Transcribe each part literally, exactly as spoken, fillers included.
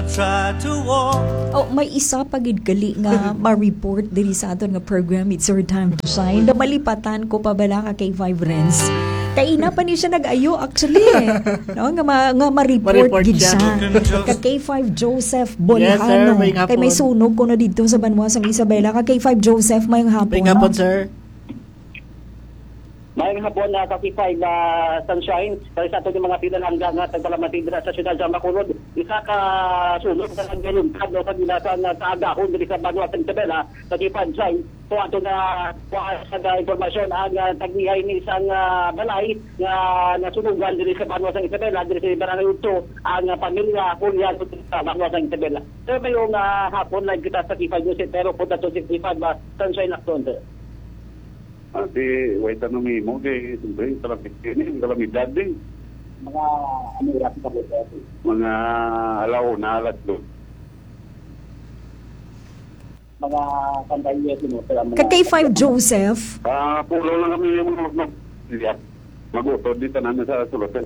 Try to walk. Oh, may isa pa gid gali nga ma-report diri sa aton nga program, It's Your Time to Shine. Namalipatan ko pa bala ka K five Renz. Kaina pa ni siya nag-ayo, actually, eh. No? Nga, ma- nga ma-report Ma-report gid siya. Siya. Ka K five Joseph Yes, sir. Bolhano. May Kay may hapon. Sunog ko na dito sa Banwa sang Isabela. Ka K five Joseph, may hapon. May hapon, sir. Maayong hapon, ah, ka K five, ah, Sunshine. Kay sa aton nga mga pinalangga nga tagpalamati dira sa siyudad sa Bacolod, isa ka sunog nga nagkaluntad, no, sa ginasan nga kaagahon diri sa Banwa sa Isabela, ka K five Sunshine. So, ato na kuha sa impormasyon ang, ah, tag-iya ini isang, ah, balay nga nasunugan diri sa Banwa sa Isabela, diri sa Barangay Utso, ang, ah, pamilya Juliano sa Banwa sa Isabela. Pero mayong, ah, hapon, live kita sa K five News, pero po dato si K five, ah, Sunshine Lacson, sir. Ah, di, way tanong nimo, kay, siyempre, kalamidad ini, kalamidad din. Mga, ano, oras ka po, sir? Mga alauna, alas dos. Mga pantay, yes, you know, sir, ang mga Ka K five Joseph. Ah, pulo lang kami yung mga mag-, mag-, mag-utod, di tanan sa sulutan.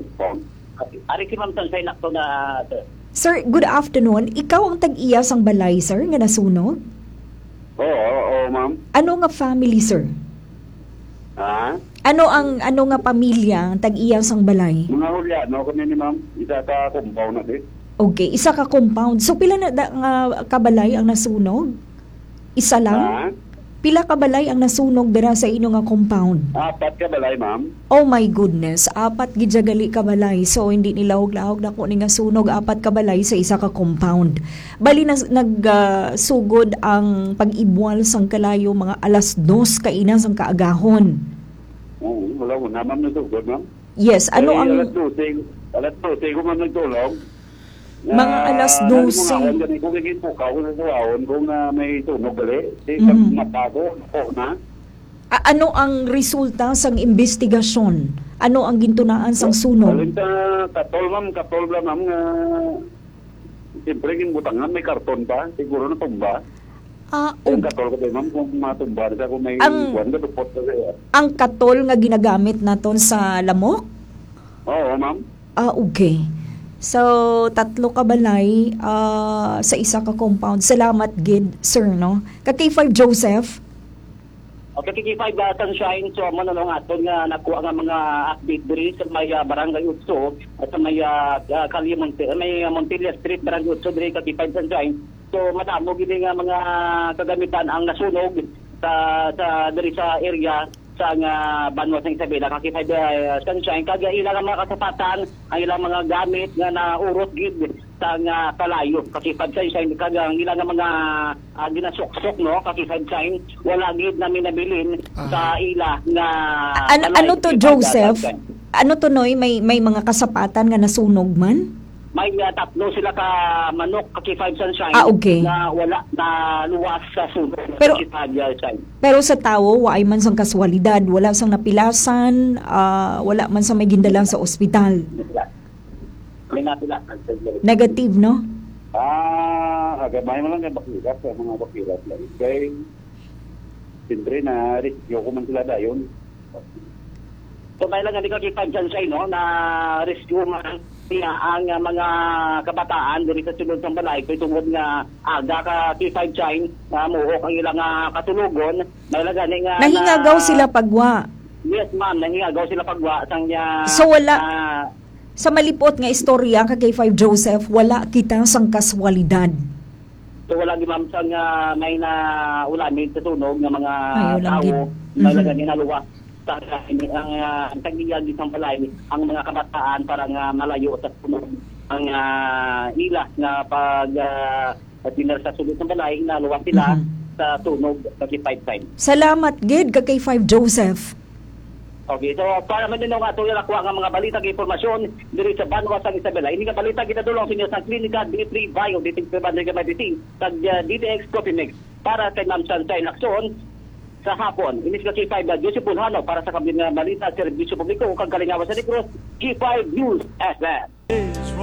Ari si Ma'am Sunshine Lacson na, sir. Sir, good afternoon. Ikaw ang tag-iya sang balay, sir, nga nasunog? Oo, oo, ma'am. Ano nga family, sir? Ha? Ano ang, ano nga pamilya ang tag-iya sang balay? Mga Juliano kami ni ma'am. Isa ka compound na di. Okay, isa ka compound. So, pila na da, nga kabalay ang nasunog? Isa lang? Ha? Pila ka balay ang nasunog dira sa inyo nga compound? Apat ka balay, ma'am. Oh my goodness, apat gid siya gali ka balay. So, hindi nilahog-lahog na ko ni nga sunog, apat ka balay sa isa ka compound. Bali, nas- nag, ah, sugod ang pag-ibwal sang kalayo mga alas dos kaina sang kaagahon. Oo, wala ko naman nasugod, ma'am. Yes, ano Ay, ang alas dose, alas dose ko man nagtulog. Mga Ah, alas ano mo dose. Nga, ako, gani ko kay pukaw ko sa suwaon kung, ah, may sunog gali. Di Mhm. Pag mata ko, ako na. A- ano ang resulta sang imbestigasyon? Ano ang gintunaan sang sunog? Alin ka, katol, ma'am, katol lang, ma'am, nga siyempre, ginbutangan, may karton pa. Siguro natumba. Ah, Ang og- katol ko, ma'am, kung matumba na siya, kung may Ang- kuwan, kadupot na siya. Ang katol nga ginagamit naton sa lamok? Oo, ma'am. Ah, okay. So, tatlo ka balay, ah, sa isa ka compound. Salamat gid, sir, no? Ka K five Joseph? Okay, K five, ah, Sunshine. So, amo na lang aton nga nakuha nga mga update diri sa may, ah, Barangay Utso at sa may, ah, ah, Calle Monte-, may, ah, Montilla Street, Barangay Utso, diri ka K five Sunshine. So, madamo gid nga mga kagamitan ang nasunog sa, sa, diri sa area sa nga Banwa sa Isabela, ka K five, ah, Sunshine. Kag ila nga mga kasapatan, ang ilang mga gamit nga naurot gid sa nga kalayo, ka K five Sunshine. Kag ang ila nga mga, ah, ginasuksok, no, ka K five Sunshine, wala gid namin nabilin Ah. sa ila nga An- balay, ano to, ka K five Joseph? Sunshine. Ano to, Noy? May, may mga kasapatan nga nasunog man? May, ah, tatlo sila ka manok, ka K five Sunshine, Ah, okay. na wala na luwas sa sunog, Pero, ka K five Sunshine. Pero sa tawo, waay man sang kaswalidad, wala sang napilasan, ah, wala man sa may gindalang sa ospital. May napila. Negative, no? Ah, agad may man lang kay bakila sa mga bakila. Kay, siyempre, na-rescue ko man sila dayon. So, may lang nga di ka kipag-, Sunshine, no? Na-rescue man niya ang, ah, mga kabataan diri sa sulod sang balay. Kay tungod nga aga ka K five Sunshine, ah, muhok ang ilang, ah, katulogon. May lang gani nga Nahingagaw na sila pagwa? Yes, ma'am. Nahingagaw sila pagwa. Sang niya, So, wala, ah, sa malipot nga istorya ka K five Joseph, wala kita sang kaswalidad. So, wala gid, ma'am, sang, ah, may naulamig sa sunog nga mga Ay, wala tawo, gid. May Mhm. Lagani naluwas sa ang, ah, ang tag-iya gid sang balay, ang mga kabataan para nga malayo sa sunog. Ang, ah, ila nga pag, ah, pagdinala sa sulod sang balay, naluwas sila Mhm. sa sunog sa K five Sunshine. Salamat gid ka K five Joseph. Okay, so para man din nga ato yung nakuha nga mga balita, nga impormasyon diri sa Banwa sang Isabela. Ini nga balita ginadulong sa inyo sa Klinika D three Bio, D T X Five Hundred Gamay D T, kag, uh, D T X Coffee Mix. Para kay Ma'am Sunshine Lacson, sa hapon, ini si K five, uh, Joseph Bulhano para sa Kabilang nga Balita, Serbisyo Publiko, kag Kalingawan sa Negros, K five News F M.